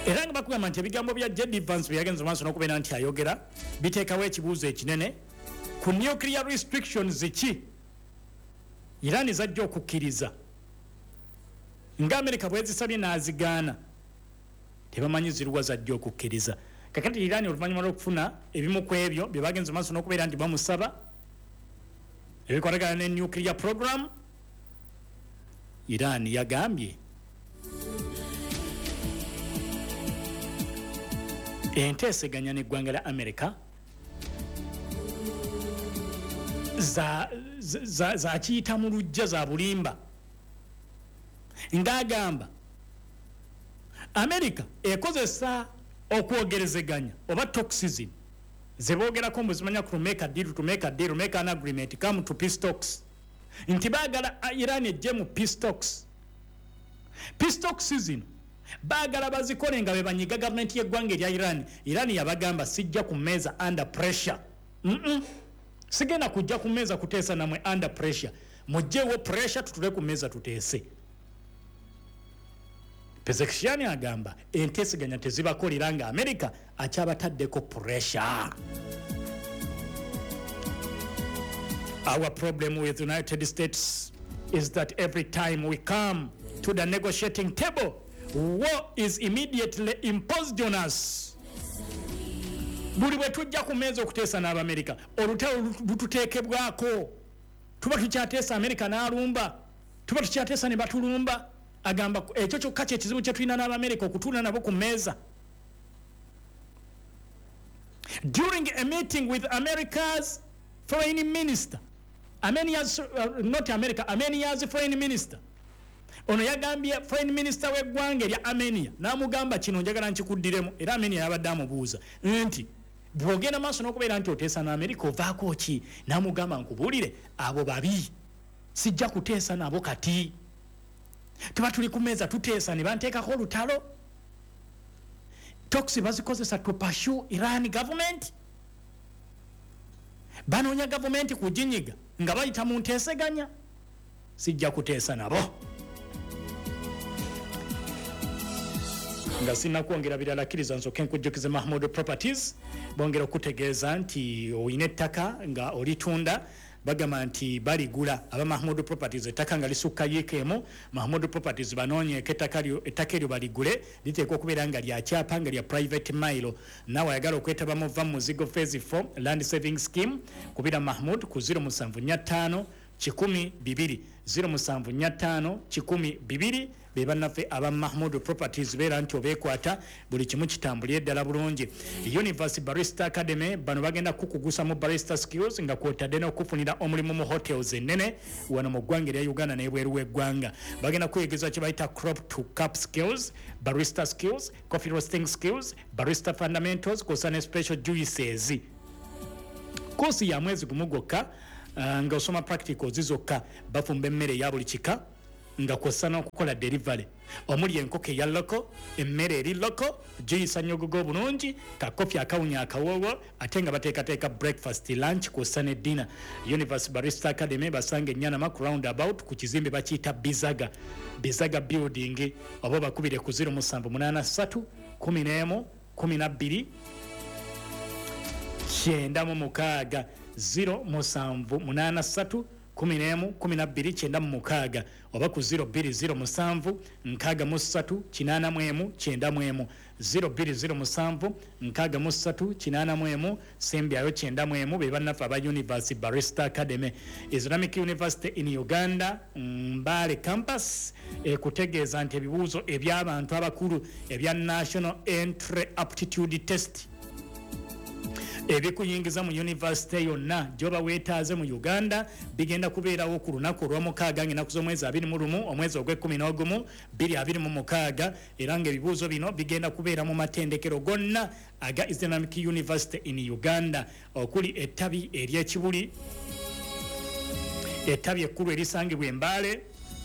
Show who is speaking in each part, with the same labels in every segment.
Speaker 1: Era nga bakugamba nti ebigambo bya JD Vance bye yagenze maaso n'okubeera nti ayogera biteekawo ekibuuzo ekinene ku nuclear restrictions ki Iran zajja okukkiriza nga Amerika bwezisabye n'azigaana. Tebamanyi ziruwa zajja okukkiriza. Kakati Iran oluvannyuma lw'okufuna ebimu ku ebyo bye bagenze maaso n'okubeera nti bamusaba ebikwatagana ne nuclear program, Iran yagambye enteeseganya n'eggwanga lya America zakiyita mu lujja za bulimba, ng'agamba America ekozesa okwogerezeganya oba talks zeboogerako mbu zimanya ku make a deal, to make a deal, make an agreement, come to peace talks, nti baagala Iran ejje mu peace talks. Peace talks zino baagala bazikole nga bebanyiga gavumenti y'eggwanga erya Iran. Iran yabagamba, "Sijja ku mmeeza under pressure. Sigenda kujja ku mmeeza kuteesa namwe under pressure. Mugjewo pressure, tutule ku mmeeza tuteese." Pezeshkian agamba enteeseganya tezibakolera nga Amerika akyabataddeko pressure. "Our problem with the United States is that every time we come to the negotiating table, war is immediately imposed on us." Buli bwe tujja ku mmeeza okuteesa n'Abamerika, olutalo lututeekebwako. Tuba tukyateesa, Amerika n'alumba. Tuba tukyateesa, ne batulumba. Agamba ekyo kyokka kyekizibu kye tulina n'Abamerika okutuula nabo ku mmeeza. During a meeting with America's foreign minister, Armenia's, not America, Armenia's foreign minister, ono yagambye foreign minister w'eggwanga erya Armenia n'amugamba, kino njagala nkikuddiremu. Era Armenia yabadde amubuuza nti, "Bw'ogenda maaso n'okubeera nti oteesa n'Amerika, ovaako ki?" N'amugamba, "Nkubuulire, abo babi, sijja kuteesa nabo. Kati tuba tuli ku meeza tuteesa ne banteekako olutalo. Talks bazikozesa to pursue Iran government. Banoonya gavumenti kuginyiga nga bayita mu nteeseganya. Sijja kuteesa nabo." Nga sinakwongera birala, kkiriza nsooke nkujjukize Mahmud Properties. Bongera okutegeeza nti oyina ettaka nga olitunda, bagamba nti baligula. Aba Mahmud Properties, ettaka nga lisukka yiika emu, Mahmud Properties banoonyeeko ettaka eryo baligule. Liteekwa okubeera nga lyakyapa, nga lya private mailo. Naawe ayagala okwetaba mu Va Muzigo Phase 4 Land Saving Scheme, kubira Mahmud ku 0745 100 200, 0745 100 200. Be bannaffe aba Mahmud Properties. Beera nti obeekwata, buli kimu kitambulire ddala bulungi. Universe Barista Academy, bano bagenda kukugusa mu barista skills nga kwotadde n'okufunira omulimu mu hotels ennene wano mu ggwanga erya Uganda n'ebweru w'eggwanga. Bagenda kuyigiriza kye bayita crop to cup skills, barista skills, coffee roasting skills, barista fundamentals, kwosa ne special juices. Koosi ya mwezi gumu gwokka, nga osoma practicals zokka. Bafumba emmere eya buli kika nga kwossa n'okukola delivery, omuli enkoko eya local, emmere eri local, giyisa nyogogo obulungi, kakofi akawunya akawoowo, ate nga bateekateeka breakfast, lunch kwossa ne dinner. Universe Barista Academy basanga Enyanama ku roundabout, ku kizimbe bakiyita Bizaga, Bizaga Building, oba bakubire ku 0783 11 12 96, 0783 11 12 96, oba ku 0207 63 81 91, 0207 63 81 sembyayo 91. Be bannaffe aba Universe Barista Academy. Islamic University in Uganda Mbale Campus ekutegeeza nti ebibuuzo eby'abantu abakulu ebya National Entry Aptitude Test ebikuyingiza mu yunivasite yonna gyoba weetaaze mu Uganda bigenda kubeerawo ku lunaku olwomukaaga, ngaenaku z'omwezi 21, omwezi ogw'11, 2026. Era ngaebibuuzo bino bigenda kubeera mu matendekero gonna aga Islamic University in Uganda, okuli ettabi ery'Ekibuli, ettabi ekkulu erisangibwa Embaale,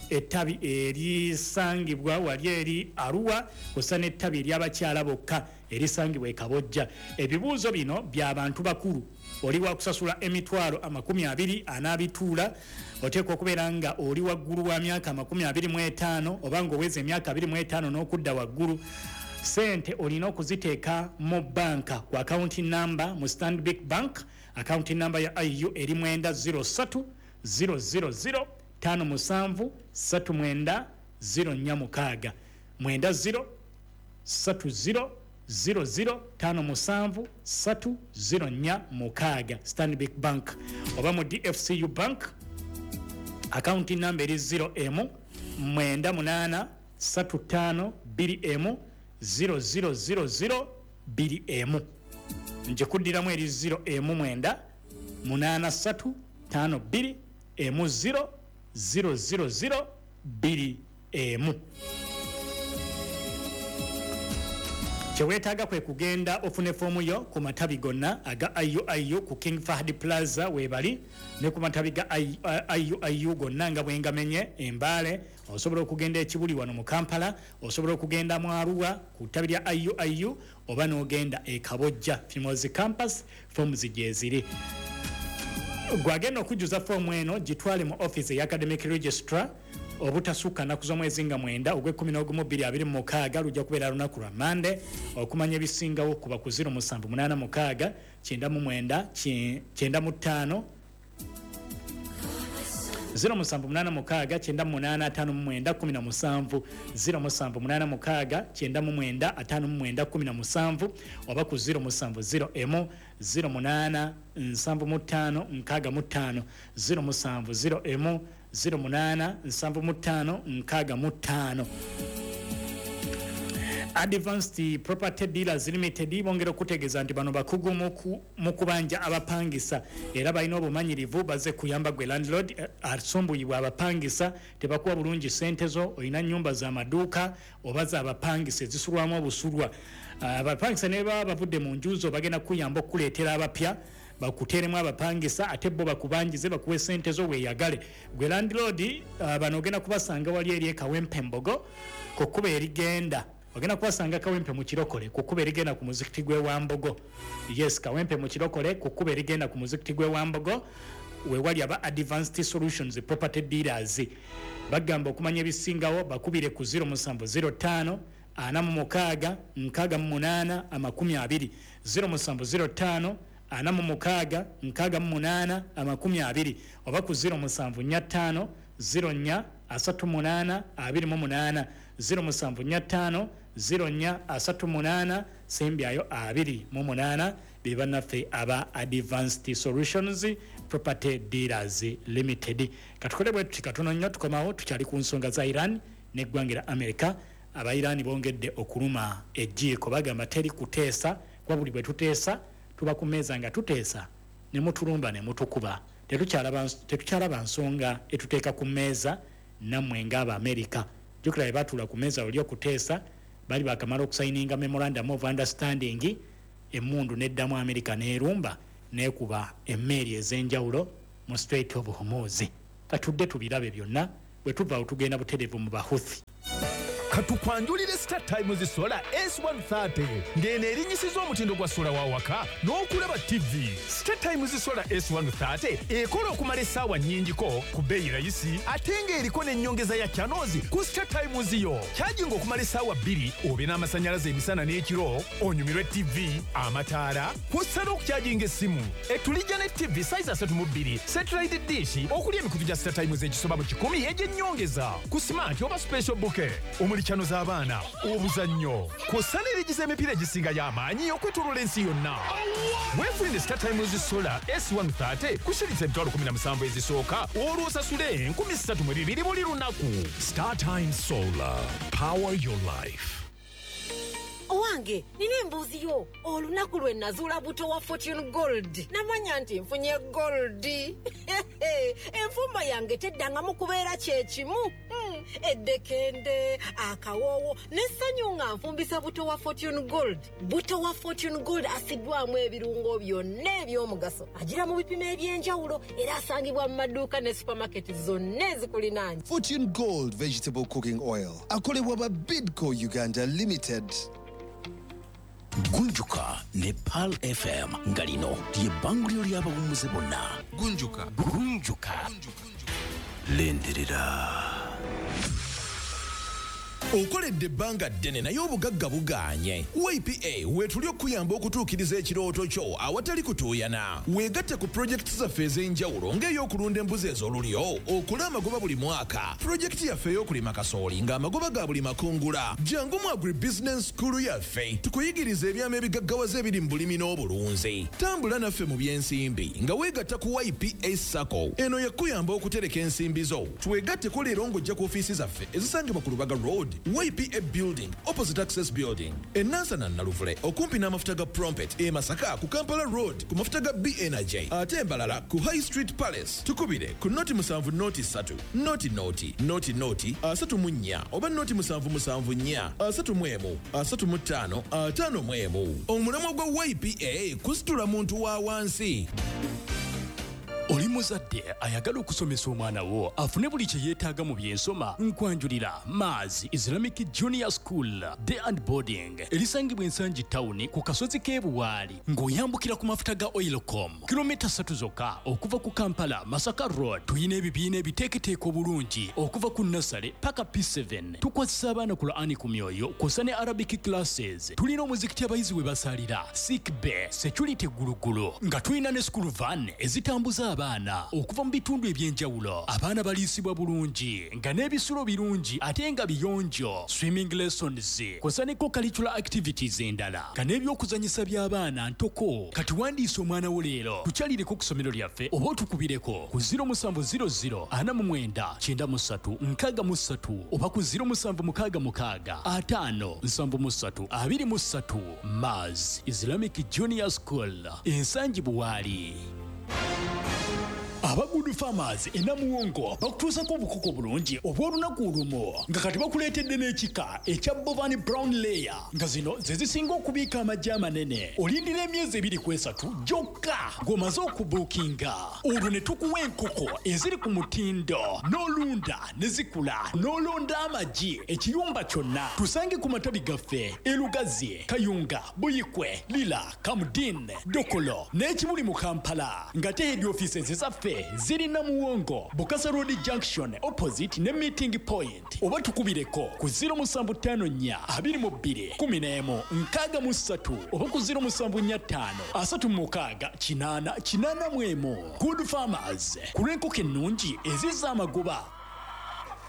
Speaker 1: ettabi erisangibwa wali eri Arua, kussa n'ettabi ery'abakyala bokka erisangibwa Ekabojja. Ebibuuzo bino by'abantu bakulu. Oli wakusasula emitwalo 20 anaabituula. Oteekwa okubeera nga oli waggulu wa myaka 25, oba nga oweza emyaka 25 n'okudda waggulu. Sente olina okuziteeka mu banka ku account number mu Stanbic Bank. Account number ya IU eri 903 000 57 39 046 90 30 00 57 3 04 6 Stanbic Bank. Oba mu DFCU Bank, account number eri 0 m 98 35 2 m 0000 2 m. Njikuddiramu, eri 0 m 9 8 3 5 2 m 0 000 2 m. Kyeweetaaga kwe kugenda ofune foomu yo ku matabi gonna aga IUIU. Ku King Fahd Plaza weebali, ne ku matabi ga IUIU gonna nga bwengamenye Embaale. Osobola okugenda Ekibuli wano mu Kampala, osobola okugenda mu Arua ku ttabi lya IUIU, oba n'ogenda e Kabojja Fimozi Campus, foomu gyeziri. Gwagenda okujjuza foomu eno, gitwale mu office eya academic registrar obutasukka nnaku z'omwezi nga 9 ogw'e11 2026, lujja kubeera lunaku lwa Mande. Okumanya ebisingawo kuba ku 0786 99 95, 0786 98 59 17, 0786 99 59 17, oba ku 0701 08 75 65, 0701 08 75 65. Advanced Property Dealers Limited bongera okutegeeza nti bano bakugu mu kubanja abapangisa era balina obumanyirivu. Baze kuyamba gwe landlord asumbuyibwa abapangisa, tebakuwa bulungi sente zo. Olina nyumba z'amaduuka oba z'abapangisa ezisulwamu obusulwa, abapangisa ne baba bavudde mu nju zo, bagenda kuyamba okukuleetera abapya, bakuteeremu abapangisa, ate bo bakubanjize, bakuwe sente zo weeyagale. Gwe landlord, bano ogenda kubasanga wali eri Ekawempe Mbogo ku kkubo erigenda, ogenda kubasanga Kawempe mu Kirokole ku kkubo erigenda ku muzikiti gw'e Wambogo. Yes, Kawempe mu Kirokole ku kkubo erigenda ku muzikiti gw'e Wambogo wewali aba Advanced Solutions Property Dealers. Bagamba okumanya ebisingawo bakubire ku 0705 46 68 20, 0705 46 68 20, oba ku 0745 04 38 28, 0745 04 38 sembyayo 28. Be bannaffe aba Advanced Solutions Property Dealers Limited. Katukole bwe tuti katono nnyo, tukomawo tukyali ku nsonga za Iran n'eggwanga lya America. Aba Iran bongedde okuluma ejjiiko, bagamba teri kuteesa, kuba buli bwe tuteesa tuba ku mmeeza nga tuteesa ne mutulumba ne mutukuba, tetukyalaba nsonga etuteeka ku mmeeza nammwe ng'Abamerika. Jjukira bwe batuula ku mmeeza oli okuteesa, bali bakamala okusayininga memorandum of understanding, emmundu neddamu Amerika n'erumba n'ekuba emmeeri ez'enjawulo mu Strait of Hormuz. Katudde tubirabe byonna. Bwe tuva awo tugenda butereevu mu Bahuthi.
Speaker 2: Katukwanjulire Star Times Solar S130, ng'eno erinyisiza omutindo gwa sola wa waka n'okulaba TV. Star Times Solar S130 ekola okumala essaawa nnyingiko ku bbeeyi rayisi, ate ng'eriko n'ennyongeza ya channels ku Star Times yo. Kyajinga okumala essaawa 2 obe n'amasannyalaze emisana n'ekiro, onyumirwe TV, amataala, kw'ossa n'okukyajinga essimu. Etulijja ne TV size 32, satellite dish okuli emikutu gya Star Times egisoba mu 100 egy'ennyongeza ku smart oba special bouquet, omuli channel z'abaana, obuzannyo, kw'ossa n'erigiza emipiira egisinga y'amaanyi okwetooloola ensi yonna. Weefunire Star Times Solar S130 ku shilingi 17,000 ezisooka, olwo osasule 3,200 buli lunaku.
Speaker 3: Star Times Solar. Power your life.
Speaker 4: Owange, nina embuuzi yo. Olunaku lwe nazuula buto wa Fortune Gold, namanya nti nfunye gold. Enfumba yange teddangamu kubeera kyekimu. Eddekende, akawoowo n'essanyu nga nfumbisa buto wa Fortune Gold. Buto wa Fortune Gold asiddwamu ebirungo byonna eby'omugaso, agira mu bipimo eby'enjawulo, era asangibwa mu maduuka ne supamaketi zonna ezikulinaanye.
Speaker 5: Fortune Gold Vegetable Cooking Oil. Akolebwa ba Bidco Uganda Limited.
Speaker 6: Gunjuka ne Pearl FM, nga lino lye bbanguliro ly'abawummuze bonna.
Speaker 7: Gunjuka.
Speaker 6: Gunjuka, lindirira.
Speaker 7: Okoledde ebbanga ddene naye obugagga bugaanye. YPA weetuli okukuyamba okutuukiriza ekirooto kyo awatali kutuuyana. Weegatte ku pulojekiti zaffe ez'enjawulo ng'ey'okulunda embuzi ez'olulyo okole amagoba buli mwaka, pulojekiti yaffe ey'okulima kasooli ng'amagoba ga buli makungula. Jangu mu Agribusiness School yaffe tukuyigiriza ebyama ebigaggawaza ebiri mu bulimi n'obulunzi. Tambula naffe mu by'ensimbi nga weegatta ku YPA SACCO. Eno yakuyamba okutereka ensimbi zo. Twegatteko leero ng'ojja ku ofiisi zaffe ezisangibwa ku Lubaga Road, YPA Building, opposite Access Building, e Nansana Naluvule okumpi n'amafuta ga Prompet, e Masaka ku Kampala Road ku mafuta ga BNJ, ate embalala ku High Street Palace. Tukubire ku 070 3 00 00 34 oba 077 4 31 35 51. Omulamwa gwa YPA kusitula muntu wa wansi.
Speaker 6: Oli muzadde ayagala okusomesa omwana wo afune buli kye yeetaaga mu byensoma? Nkwanjulira Maz Islamic Junior School Day and Boarding, erisangibwa Ensangi Tawuni ku kasozi k'ebuwaali ng'oyambukira ku mafuta ga Oilcom, kilomita 3 zokka okuva ku Kampala Masaka Road. Tuyina ebibiina ebiteeketeeka obulungi okuva ku nursery paka P7. Tukwasisa abaana Qur'ani ku myoyo kw'ossa ne Arabic classes. Tulina omuzikiti abayizi we basalira, sick bay, security gulugulu, nga tulina ne school van ezitambuza abaana okuva mu bitundu ebyenjawulo. Abaana baliisibwa bulungi nga n'ebisulo birungi ate nga biyonjo, swimming lessons kw'ossa ne co-curricular activities endala, nga n'ebyokuzanyisa by'abaana ntoko. Kati wandiisa omwana wo leero, tukyalireko ku ssomero lyaffe oba otukubireko ku 0700 49 93 63 oba ku 0766 5 73 23. Maz Islamic Junior School, Ensangi Buwaali. Aba Good Farmers e Namuwongo bakutuusako obukoko bulungi obw'olunaku olumu, nga kati bakuleetedde n'ekika ekya Bovan Brown Layer, nga zino ze zisinga okubiika amagi amanene. Olindira emyezi 2 ku 3 gyokka ng'omaze okubuukinga, olwo ne tukuwa enkoko eziri ku mutindo n'olunda ne zikula n'olonda amagi ekiyumba kyonna. Tusange ku matabi gaffe e Lugazi, Kayunga, Buyikwe, Lira, Kamudin, Dokolo n'ekibuli mu Kampala, nga te head offices zaffe ziri Namuwongo, Bukasa Road Junction opposite ne Meeting Point, oba tukubireko ku 0754 22 11 63 oba ku 0745 36 8 81. Good Farmers, ku lw'enkoko ennungi ezizza amagoba.